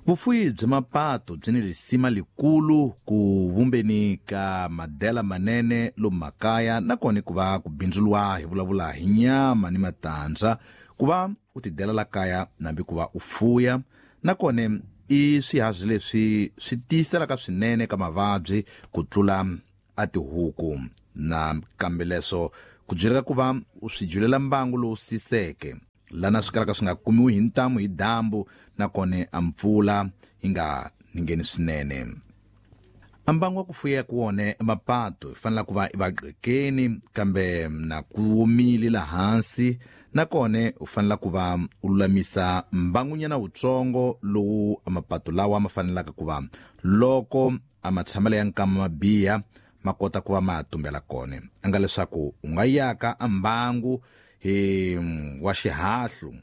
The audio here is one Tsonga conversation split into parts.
Vufuyi bya mapato byi ni risima likulu ku vumbeni ka madela manene lomu makaya, nakona ku va ku bindzuriwa hi vulavula hi nyama ni matandza, ku va u tidela la kaya nambi ku va u fuya. Nakona i swiharhi leswi swi tiyiselaka swinene ka mavabyi ku tlula a tihuku, na kambe leswo ku byeleka ku va u swi julela mbangu lowu siseke lana swi kalaka swi nga kumiwi hi ntamu hi dyambu, nakona a mpfula yi nga ningheni swinene. A mbangu wa ku fuya ku wone mapato hi fanela ku va i vaqekeni kambe na ku omile la hansi, nakona u fanela ku va u lulamisa mbangunyana wutsongo lowu mapato lawa ma fanelaka ku va loko a matshamelo ya nkama ma biha ma kota ku va ma tumbela kona. A nga leswaku u nga yaka a mbangu hi wa xihahlu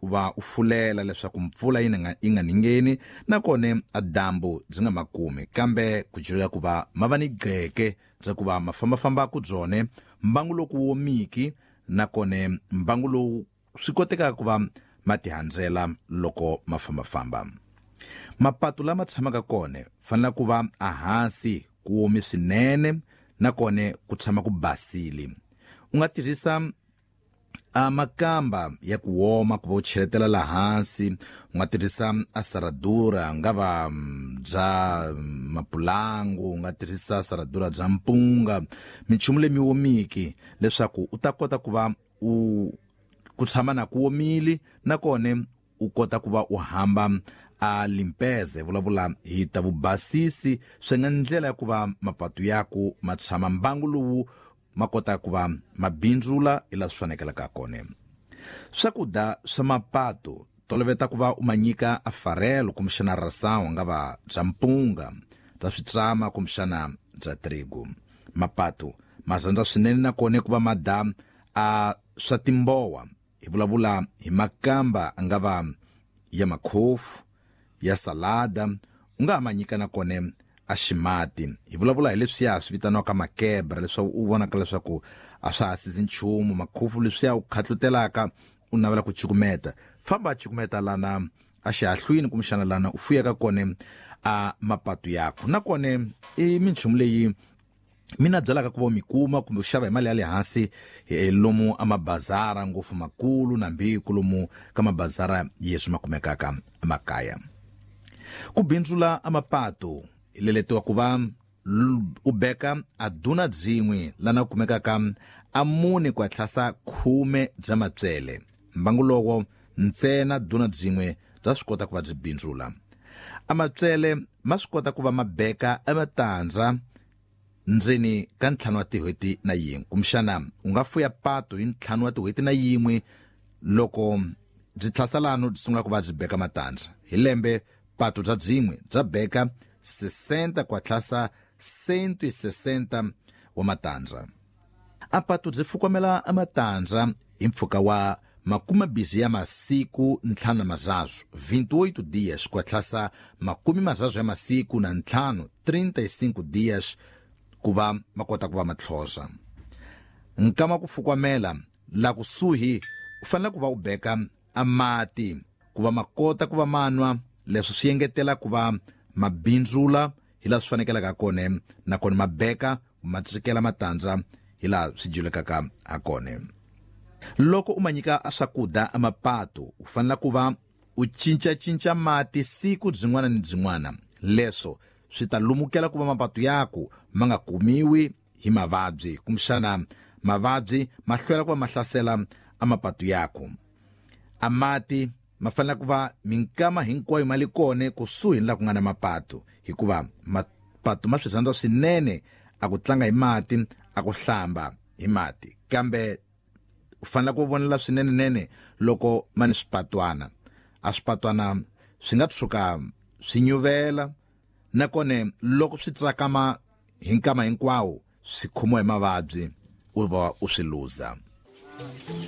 u va u fulela leswaku mpfula yi nga ningheni, nakona a dyambu byi nga makumi, kambe ku jula ku va ma va ni gqeke bya ku va ma fambafamba ku byone mbangu loku womiki, nakona mbangu lowu swi kotekaka ku va ma tihandzela loko ma fambafamba. Mapato lama tshamaka kona fanela ku va ehansi ku omi swinene, nakona ku tshama ku basile. U nga tirhisa a makamba ya ku woma ku va u cheletela la hansi, u nga tirhisa a saradura nga va bya mapulangu, u nga tirhisa saradura bya mpunga, minchumu leyi mi womiki leswaku u ta kota ku va u ku tshama na ku omile, nakona u kota ku va u hamba a limpeze. Vulavula hi ta vubasisi swi nga ndlela ya ku va mapatu yaku ma tshama mbangu lowu ma kota ku va ma bindzula hi laha swi fanekelaka kona. Swakudya swa mapato toloveta ku va u ma nyika a farelo kumbexana rasawu nga va bya mpunga, bya switsama kumbexana bya trigo. Mapato ma rhandza swinene nakona ku va ma da a swa timbowa. Hi vulavula hi makamba a nga va ya makhofu, ya salada, u nga ha ma nyika nakona a ximati. Hi vulavula hi leswiya swi vitaniwaka makebra, leswaku u vonaka leswaku a swa ha sizi nchumu, makhofu leswiya u khatlutelaka u navela ku cukumeta, famba a cukumeta lana a xihahlwini kumbexana lana u fuyaka kona a mapato yakho. Nakona i minchumu leyi mina byalaka ku va mi kuma kumbe u xava hi mali ya le hansi lomu a mabazara ngopfu makulu nambi lomu ka mabazara yeswi ma kumekaka emakaya. Ku bindzula a mapato leletiwa ku va u beka a duna byin'we lana kumekaka a 4 ku tlhasa 10 bya matswele. Mbangu lowo ntsena duna byin'we bya swi kota ku va byi bindzula. A matswele ma swi kota ku va ma beka ematandza ndzeni ka 5 wa tin'hweti na yin'we, kumbexana u nga fuya pato hi 5 wa tin'hweti na yin'we loko byi tlhasalano byi sungula ku va byi beka matandza. Hi lembe pato bya byin'we bya beka 60 ku tlhasa 160 wa matandza. A pato byi fukamela matandza hi mpfhuka wa 20 ya masiku 5 na mazazu, 28 dias ku tlhasa 25 ya masiku na 5, 35 dias ku va ma kota ku va matlhoza. Nkama ku fukamela la kusuhi u fanele ku va u beka a mati ku va ma kota ku va manwa, leswi swi engetela ku va mabindzula hi laha swi fanekelaka kona, nakona ma beka ma tsikela matandza hi laha swi julekaka ha kona. Loko u ma nyika swakudya a mapato u fanele ku va u cincacinca mati siku byin'wana ni byin'wana, leswo swi ta lumukela ku va mapato yaku ma nga kumiwi hi mavabyi, kumbexana mavabyi ma hlwela ku va ma hlasela a mapato yaku. A mati ma fanele ku va minkama hinkwayo ma li kona kusuhi ni la ku nga na mapato, hikuva mapato ma swi rhandza swinene a ku tlanga hi mati, a ku hlamba hi mati, kambe u fanele ku vonela swinene nene loko ma ni swipatwana. A swipatwana swi nga tshuka swi nyuvela, nakona loko swi tsakama hi nkama hinkwawo swi khomiwa hi mavabyi u va u swi luza.